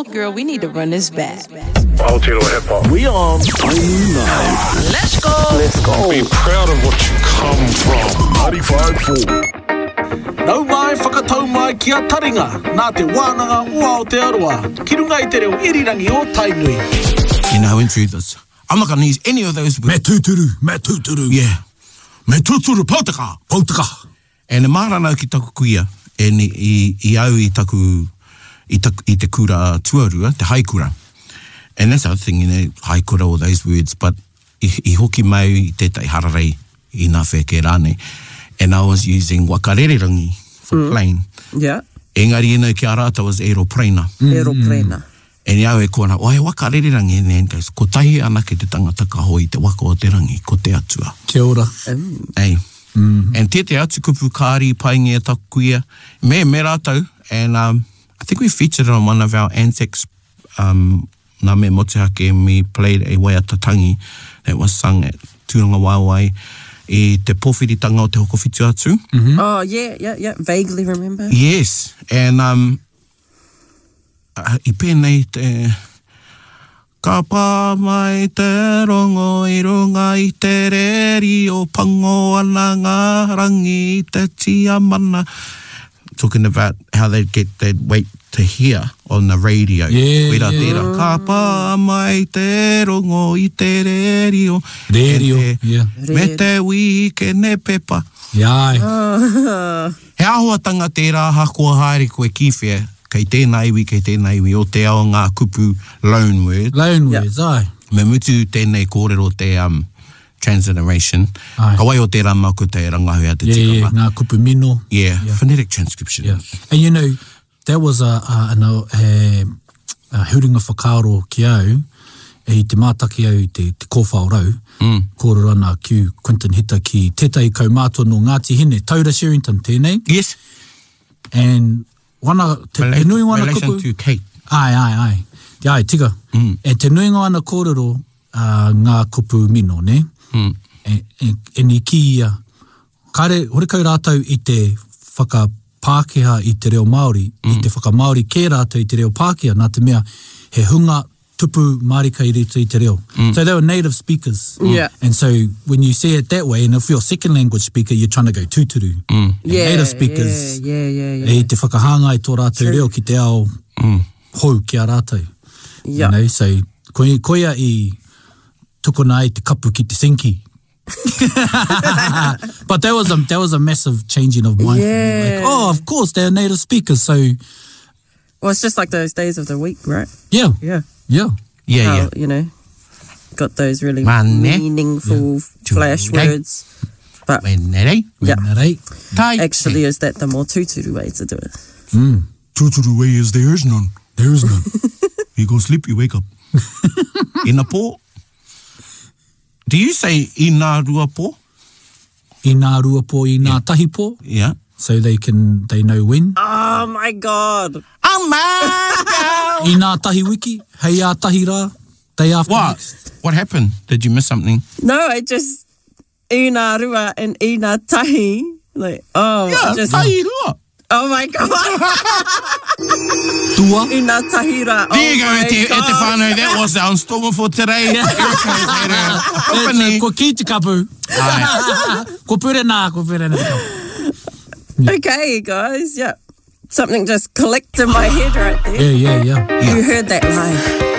Oh, girl, we need to run this back. Aotearoa Hip Hop. We on Tainui 9. Let's go! Let's go. Be proud of what you come from. 95.4. Nau mai whakatau mai ki a Taringa, nā Te Wānanga o Aotearoa, ki runga i te reo irirangi o Tainui. You know, I went through this. I'm not going to use any of those words. Me tūturu, me tūturu. Yeah. Me tūturu, poutaka. Poutaka. And e mārama au ki taku kuia, and i, i, i au i taku, i, taku, i te kura tuarua, te haikura. And that's the other thing, you know, haikura, all those words, but i, i hoki mai i tētahi hararei i nā wheke rānei, and I was using wakarererangi for mm. plane. Yeah. Engari, you know, ki a rātou was aeroplane. Mm. Aeroplane. And i au e kō ana, oh, he waka rererangi ēnei, and goes, kotahi anake te tangata ka hoe i te waka o te rangi, ko te Atua. Kia ora. Ei. And tētehi atu kupu kāri i paingia taku kuia, me, me rātou, and um, I think we featured it on one of our Anzacs, um, nā me motuhake, and we played a waiata tangi that was sung at Tūrangawaewae i te pōwhiritanga o Te Hokowhitu-a-Tū. Oh, yeah, yeah, yeah. Vaguely remember. Yes, and um, I pēnei te, Ka pā mai te rongo i runga i te rērio Pango ana ngā rangi i te tiamana Talking about how they'd get, they'd wait to hear on the radio. Yeah, Koirā yeah. tērā. Ka pā mai te rongo i te rērio Rērio, yeah. Me te wīkene pepa. Yeah, ai. He āhuatanga tērā ahakoa haere koe ki whea, kei tēnā iwi, kei tēnā iwi o te ao ngā kupu loan words. Loan words, āe. Me mutu tēnei kōrero te um, transliteration. Āe. Ka waiho tērā māku te rangahau a te Yeah, yeah, tikanga. ngā kupu mino. Yeah, phonetic transcription. Yeah. And you know, that was a, a, an, a, a huringa whakaaro ki au, i te mātaki au i te, te kōwhao rau, mm. kōrero ana ki Quinton Hita ki tētahi kaumātua nō Ngāti Hine, Taura Sherrington tēnei. Yes. And wana, te, te nui wana relation kupu... to Kate. Ai, ai, ai. Te ai, tika. Mm. E te nuinga ana kōrero uh, ngā kupu mino, ne? Mm. E, e, e ni ki ia, kare, horekau rātou i te whakapākehā i te reo Māori, mm. i te whakamāori kē rātou i te reo Pākehā, nā te mea he hunga tupu mārika i roto i te reo. Mm. So they were native speakers. Mm. Yeah. And so when you see it that way, and if you're a second language speaker, you're trying to go tūturu. Mm. And Yeah, native speakers, yeah, yeah, yeah, yeah. e te whakahāngai tō rātou reo ki te ao mm. hou ki a rātou. Yeah. You know, so koia, koia i tukuna ai te kapu ki te sinki. But that was a that was a massive changing of mind for me. Like, Yeah. oh, of course they're native speakers, so Well, it's just like those days of the week, right? yeah, Yeah. yeah. Yeah, How, yeah. You know, got those really Mane. meaningful flash Tuesday. words. But Wenere. yeah, Rei. Tai. actually, is that the more tūturu way to do it? Tūturu way is there is none. There is none. You go sleep, you wake up. Ina pō. Do you say ina rua pō? Inā rua pō, inā tahi pō. Yeah. So they can they know when. Oh my God. Oh my God. Inā tahi wiki, hei ā tahi rā, day after What? next. What happened? Did you miss something? No, I just ina rua and ina tahi. Like, oh, Yeah, just tahi rua. oh my God. Tua. ina tahi rā. Oh There you go, my e te, e te God. whānau. That was our installment for today. Erica has had her epiphany. Ko ki te kapu. Aye. Ko pure nā, ko pure nā te kapu. Okay, guys. Yeah. Something just clicked in my head right there. Yeah, yeah, yeah. You heard that live.